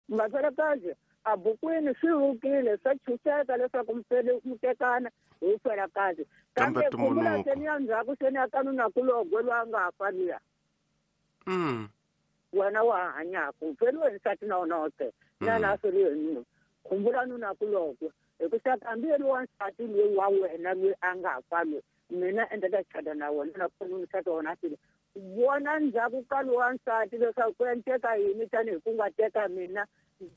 Vafelakazi a bukwini swi vukile swa chuseka leswaku mufeli mutekana hi felakazi. Kambe Kambe khumbula tumbuluko. seni ya ndzhaku seni ya kanuna kulogwe loyi a nga fa luya. Wena wa ha hanyaka u feriwe hi nsati na wona wote na na feriwe hi nuna. Khumbula nuna kulogwe hikusa hambi yena wa nsati loyi wa wena loyi a nga fa loyi mina endleka chada na wena na kona nsati wa wena a file. Vona ndzhaku ka lowa nsati leswaku ku endleka yini tanihi ku nga teka mina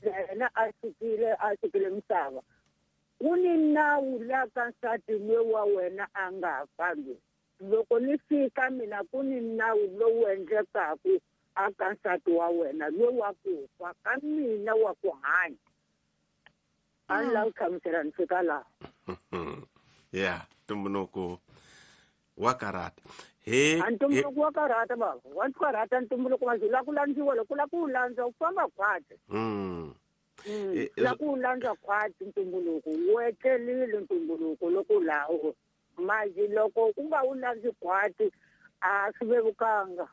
yena a sukile misava. Ku ni nawu la ka nsati loyi wa wena a nga fa loyi. Loko ni fika mina ku ni nawu lowu endlekaku a ka nsati wa wena loyi wa ku fa ka mina wa ku hanya. A ni lavi ku hlamusela ni fika laha. Yeah, ntumbuluko wa karata. He A ntumbuluko wa karata baba. Wa karata ntumbuluko wa la ku landziwa loko la ku landza u famba khwatsi. La ku landza khwatsi ntumbuluko wu etlelile ntumbuluko loko lawo. Manje loko u nga wu landzi khwatsi a swi vevukanga.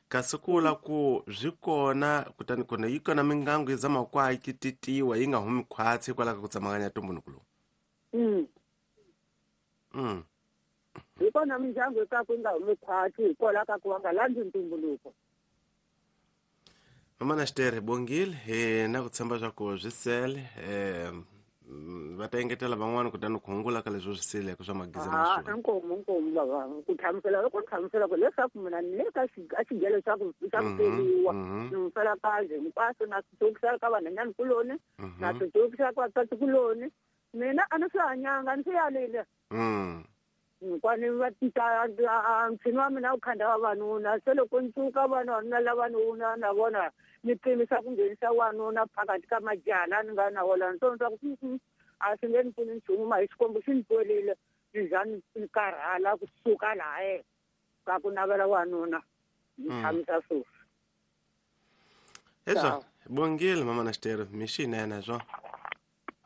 Kasi ku vula ku swi kona kutani kona yi kona mingangu yi zama ku a yi titiwa yi nga humi khwatsi hikwalaho ka ku tsemakanya ntumbuluko lowu. Hi kona mindyangu eka ku nga humi khwatsi hikwalaho ka ku va nga landzi ntumbuluko. Mama na Xitere bongile hi na ku tshemba swa ku swi sele va ta engetela van'wana kutani ku hungula ka leswi swi seleke swa magiza na swona. Inkomu baba ku hlamusela loko ni hlamusela ku leswaku mina ni le ka xigelo xa ku xa ku feriwa ni mufelakazi hinkwaswo na swi tsukisela ka vanhwanyana kuloni na swi tsukisela ka vasati kuloni mina a ni swi hanyanga ni swi yalile. Kwani va ta ntshini wa mina wu khanda vavanuna se loko ni tsuka vanuna lavanuna na vona ni pimisa ku nghenisa wanuna phakathi ka majaha la ni nga na wona ni twa ku a swi nge ni pfuni nchumu ma hi Xikwembu xi ni twerile ni za ni karhala kusuka laha ka ku navela wanuna ni tshamisa sweswi. Hezwo bongile mama na Xitere mi xinene swo.